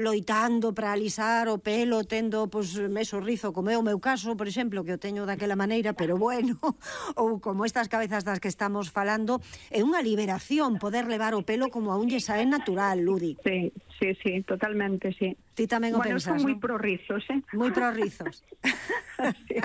loitando para alisar o pelo, tendo, pois, meso rizo, como é o meu caso, por exemplo, que o teño daquela maneira, pero bueno, ou como estas cabezas das que estamos falando, é unha liberación poder levar o pelo como a un lle sae natural, Ludi. Sí, totalmente, sí. Ti tamén o pensas, son moi non? prorrizos, Moi prorrizos. Sí.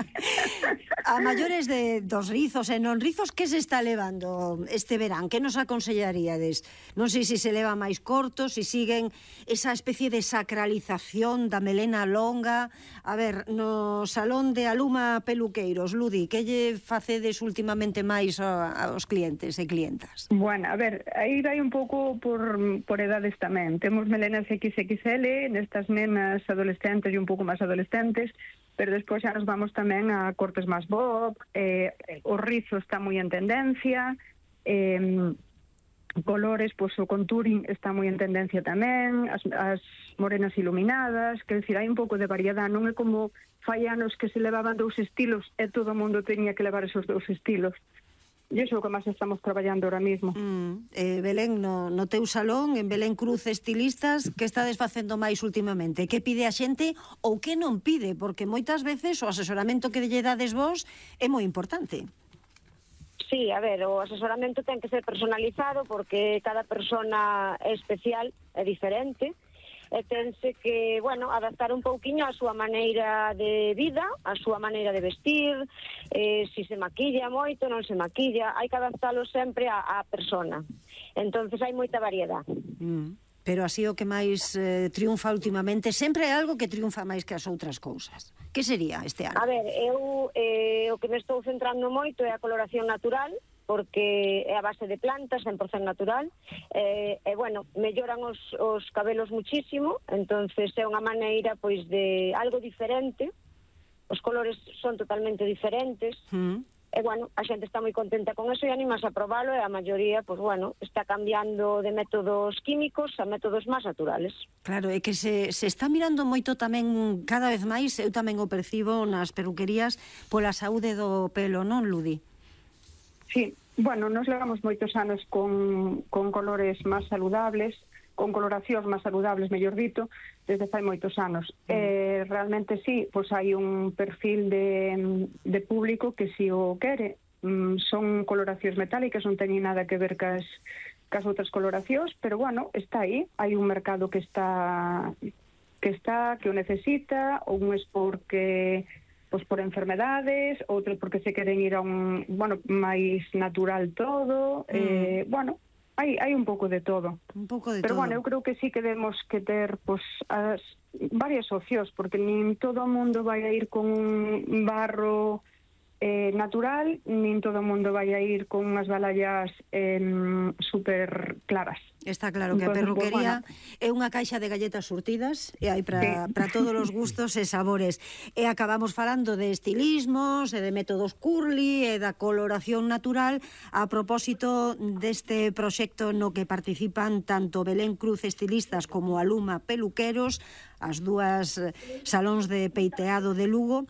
A maiores dos rizos e non rizos, que se está levando este verán? Que nos aconsellaríades? Non sei se leva máis cortos, se siguen esa especie de sacralización da melena longa. A ver, no salón de Aluma Peluqueiros, Ludi, que lle facedes últimamente máis aos clientes e clientas? Bueno, a ver, aí vai un pouco por edades tamén. Temos melenas XXL, nestas nenas adolescentes e un pouco máis adolescentes, pero despois xa nos vamos tamén a cortes máis bob, o rizo está moi en tendencia, colores, pois o contouring está moi en tendencia tamén, as morenas iluminadas, que decir, hai un pouco de variedade, non é como fai anos que se levaban dous estilos e todo o mundo teña que levar esos dous estilos. E iso é o que máis estamos traballando ahora mismo. Belén, no teu salón, en Belén Cruz Estilistas, que estades facendo máis últimamente? Que pide a xente ou que non pide? Porque moitas veces o asesoramento que lle dades vos é moi importante. Sí, a ver, o asesoramento ten que ser personalizado porque cada persona é especial, é diferente, e tense que, bueno, adaptar un pouquiño a súa maneira de vida, a súa maneira de vestir, se maquilla moito, non se maquilla, hai que adaptalo sempre á persona. Entonces hai moita variedade. Pero así o que máis triunfa últimamente, sempre é algo que triunfa máis que as outras cousas. Que sería este ano? A ver, eu o que me estou centrando moito é a coloración natural, porque é a base de plantas, 100% natural, e, bueno, melloran os cabelos muchísimo, entonces é unha maneira, pois, de algo diferente, os colores son totalmente diferentes, e, bueno, a xente está moi contenta con eso e animas a probalo, e a maioría, pois, bueno, está cambiando de métodos químicos a métodos máis naturales. Claro, é que se está mirando moito tamén, cada vez máis, eu tamén o percibo nas peluquerías, pola saúde do pelo, non, Ludi? Sí, bueno, nos levamos moitos anos con colores máis saludables, con coloracións máis saludables, mellor dito, desde fai moitos anos. Realmente sí, pois hai un perfil de público que si o quere. Son coloracións metálicas, non teñen nada que ver cas outras coloracións, pero bueno, está aí. Hai un mercado que o necesita, un es porque pois por enfermedades, outro porque se queren ir a un, bueno, máis natural todo, bueno, hai un pouco de todo. Un pouco de pero todo. Bueno, eu creo que sí que debemos que ter pois as varias opcións, porque nin todo o mundo vai a ir con un barro natural, nin todo o mundo vai a ir con unhas balayas super claras. Está claro que a perruquería é unha caixa de galletas surtidas e hai para todos os gustos e sabores. E acabamos falando de estilismos e de métodos curly e da coloración natural a propósito deste proxecto no que participan tanto Belén Cruz Estilistas como Aluma Peluqueros, as dúas salóns de peiteado de Lugo.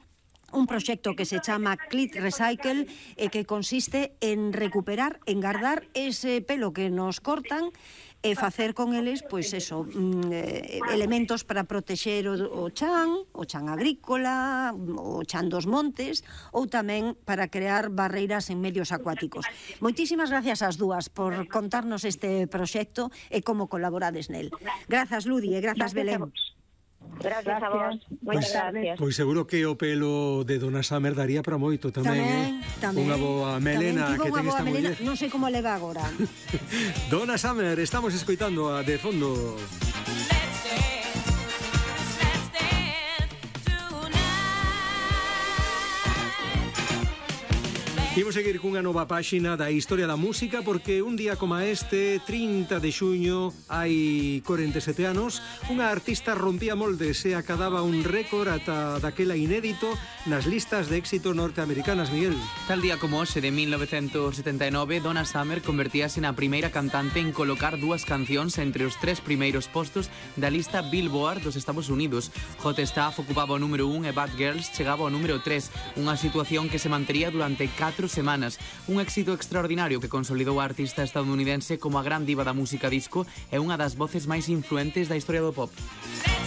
Un proxecto que se chama Clit Recycle e que consiste en recuperar, en guardar ese pelo que nos cortan e facer con eles, pois eso, elementos para protexer o chan agrícola, o chan dos montes, ou tamén para crear barreiras en medios acuáticos. Moitísimas gracias ás dúas por contarnos este proxecto e como colaborades nel. Grazas, Ludi, e grazas, Belén. Gracias a vos, moitas gracias. Pois seguro que o pelo de Dona Summer daría para moito tamén, tamén. Unha boa melena que ten esta muller. Non sei como leva agora. Dona Summer, estamos escoitando a de fondo. Imos seguir cunha nova páxina da historia da música porque un día como este, 30 de xuño, hai 47 anos, unha artista rompía moldes e acadaba un récord ata daquela inédito nas listas de éxito norteamericanas, Miguel. Tal día como hoxe de 1979, Donna Summer convertíase na primeira cantante en colocar dúas cancións entre os 3 primeiros postos da lista Billboard dos Estados Unidos. Hot Stuff ocupaba o número 1 e Bad Girls chegaba ao número 3, unha situación que se mantería durante 4 semanas. Un éxito extraordinario que consolidou a artista estadounidense como a gran diva da música disco e unha das voces máis influentes da historia do pop.